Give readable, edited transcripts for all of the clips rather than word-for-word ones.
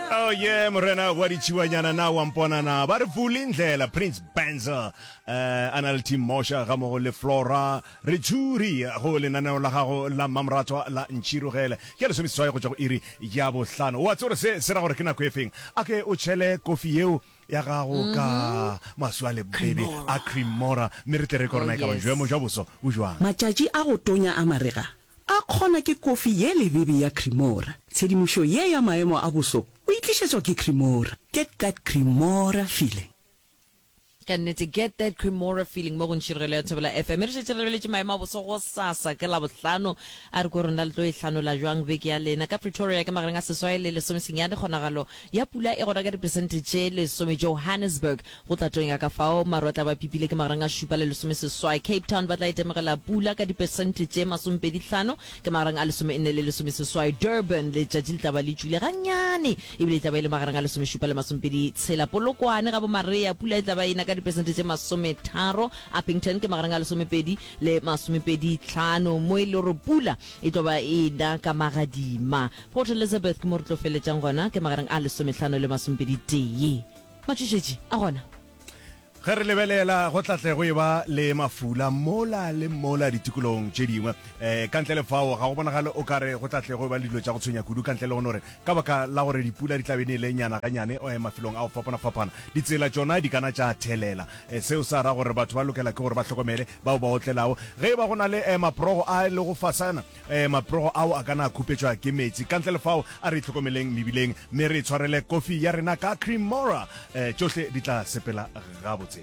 Oh yeah, morena wa ditšhiwanyana na wa mpona na ba re vule ndlela Prince Benza eh a na le team Mosha ga mogo le Flora re tšhuri go lenaneo la gago la mmamoratwa la ntšhirogele ke lesomeseswai go tšwa go iri ya bohlano wa tsore se se ra gore ke nako e feng a ke o tšhele kofi yeo ya gago ka maswi a lebebe a cremora mme re tle re kore na e ka ba boemo jwa boso bo jwang. Matšatši a go tonya a marega a kgona ke kofi ye lebebe ya Cremora. Tshedimošo ye ya maemo a boso o e tlišetšwa ke Cremora. Get that Cremora feeling. Ka nnete, get that Cremora feeling mo go Ntšhirogelo ya Thobela FM. Re šetše re lebeletše maemo a boso gosasa ke Labohlano. A re kwe rona le tlo e hlanola bjang beke ya lena. Ka Pretoria ke magareng a seswai le lesomesenyane, kgonagalo ya pula e gona ka diperesente tše lesome. Johannesburg go tla tonya ka fao maru a tla ba pipile ke magareng a šupa le lesomeseswai. Cape Town ba tla itemogela pula ka diperesente tše masomepedihlano ke magareng a lesomenne le lesomeseswai. Durban letšatši le tla ba le tšwile gannyane ebile e tla ba e le magareng a lesomešupa le masomepedi tshela. Polokwane ga bo-Marea pula e tla ba e na ka diperesente tše masometharo. Upington ke magareng a lesomepedi le masomepedi tlhano mo e le gore pula e tlo ba e na ka magadima. Port Elizabeth ke mo re tlo feletšang gona ke magareng a lesomehlano le masomepedi tee. Matšhošetši a gona. Ge re lebelela, go tla tle go eba le mafula mola le mola ditikologong tše dingwe. Um ka ntle le fao, ga go bonagale o ka re go tla tle go eba le dilo tša go tshwenya kudu, ka ntle le go no re ka baka la gore dipula di tla be di nele nyana ganyane mafelong a go fapana-fapana, ditsela tšona di ka na tša thelela. Seo sa ra gore batho ba lokela ke gore ba hlokomele bao ba otlelago. Ge e ba go na le maprogo a lego fasana, maprogo ao a ka na a khupetšwa ke meetse. Ka ntle le fao, a re itlhokomeleng mebileng mme re itshwarele kofi ya rena ka Cremora. Tšohle di tla sepela gabotse.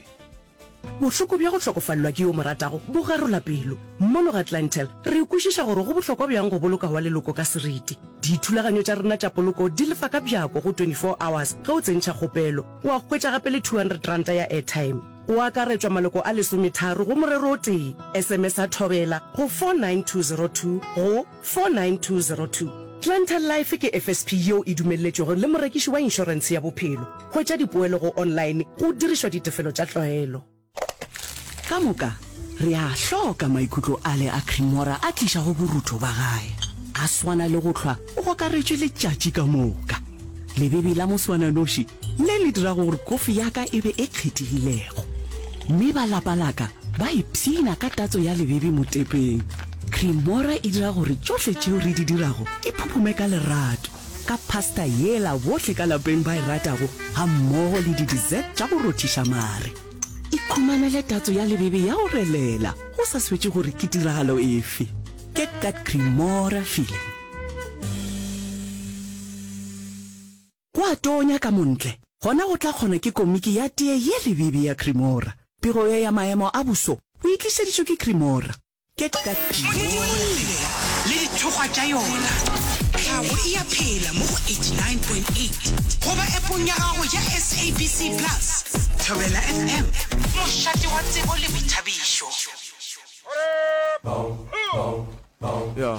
Bohloko bja go hlokofalelwa ke yo o mo ratago bo garola pelo. Mono ga Clientele, re kwešiša gore go bohlokwa bjang go boloka wa leloko ka seriti. Dithulaganyo tša rena tša poloko di lefa ka bjako go 24 hours ge o tsentšha kgopelo. Wa hwetša gape le R200 ya airtime. Go akaretšwa maloko a lesometharo go morero o tee. SMS-a Thobela go 49202 go 49202. Clientele Life ke FSP yeo e dumelletšwego le morekiši wa inšorentshe ya bophelo. Hwetša dipoelo go online go dirišwa ditefelo tša tlwaelo. Ka moka re a hloka maikutlo ale a Cremora a tlišago borutho ba gae. A swana le go hlwa o gokaretšwe letšatši ka moka. Lebebe la moswananoši le le dirago gore kofi ya ka e be e kgethegilego. Mme ba lapa la ka ba ipshina ka tatso ya lebebe motepeng. Cremora e dira gore tšohle tšeo re di dirago di phuphume ka lerato, ka pasta yela bohle ka lapeng ba e ratago gammogo le di-dessert tša go rothiša mare. Ikhumanele tatso ya lebebe ya go relela go sa swetše gore ke tiragalo efe. Get that Cremora feeling. Go a tonya ka montle, gona go tla kgona ke komiki ya tee ye lebebe ya Cremora. Pego ye ya maemo a boso o e tlišeditšwe ke Cremora. Get that Modimo le dithokgwa tša yona. Tlhago e a phela mo go 89.8 goba appong ya gago ya SABC Plus. Thobela FM, mošate wa tsebo le boithabišo. Yeah.